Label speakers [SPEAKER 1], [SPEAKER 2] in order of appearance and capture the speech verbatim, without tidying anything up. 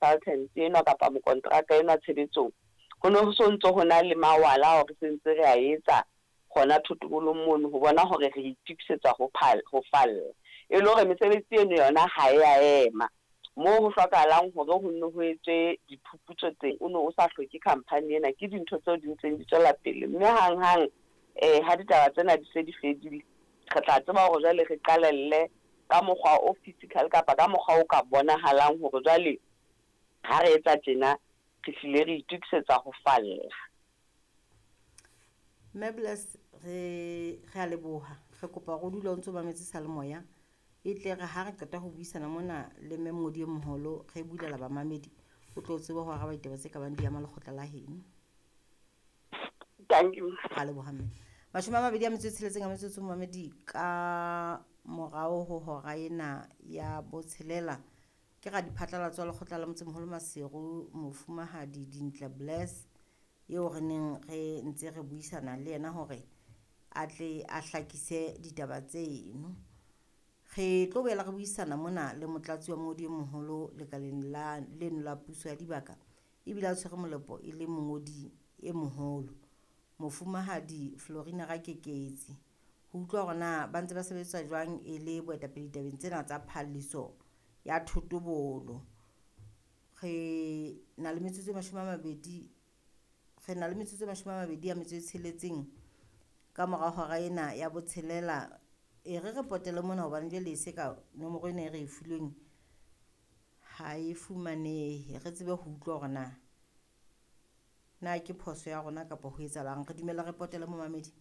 [SPEAKER 1] Consultant enwa kapa mokonteraka enwa tshebetsong, ho ne ho so ntso ho na le mawala ao re sentse re a etsa hona thotobolong mono ho bona hore re itokisetsa ho ho falla. E le hore mesebetsi eno yona ha e a ema. Moo ho hlokahalang hore ho nne ho etswe diphuputso teng, o no o sa hloke company ena, ke dintho tseo di ntseng di tswela pele. Mme hanghang um ha ditaba tsena di se di fedile, re tla tseba hore jwale re qalelle ka mokgwa o physical kapa ka mokgwa o ka bonahalang hore jwale ha re etsa tjena re hlile re itokisetsa ho falla.
[SPEAKER 2] Mme Bless, re re a leboha. Re kopa hore o dule o ntso mametse seyalemoya. E tle re ha re qeta ho buisana mona le mme mongodi e moholo, re bulela bamamedi, o tlo tsebe ho araba ditaba tse kabang di ama lekgotla la heno.
[SPEAKER 1] Thank you.
[SPEAKER 2] Ra leboha mme. Mashome a mabedi a metso e tsheletseng a metsotso momamedi ka morao ho hora ena ya botshelela. Ke radiphatlalatso wa lekgotla la motsemoholo Maseru, Mofumahadi Dintle Bless, eo re neng re ntse re buisana le yena hore a tle a hlakise ditaba tseno. Re tlo boela re buisana mona le motlatsi wa mongodi e moholo lekaleng la leno la puso ya dibaka, ebile a tshwere molepo e le mongodi e moholo, Mofumahadi Florina Rakeketsi, ho utlwa hore na ba ntse ba sebetsa jwang e le boetapele ditabeng tsena tsa phalliso ya thotobolo. Re na le metsotso e mashome a mabedi, re na le metsotso e mashome a mabedi a metso e tsheletseng ka mora hora ena ya botshelela. E re re potele mona hobane jwale e se ka nomoro ena e re e filweng ha e fumanehe. Re tsebe ho utlwa hore na na ke phoso ya rona kapa ho etsahalang. Re dumela re potele momamedi.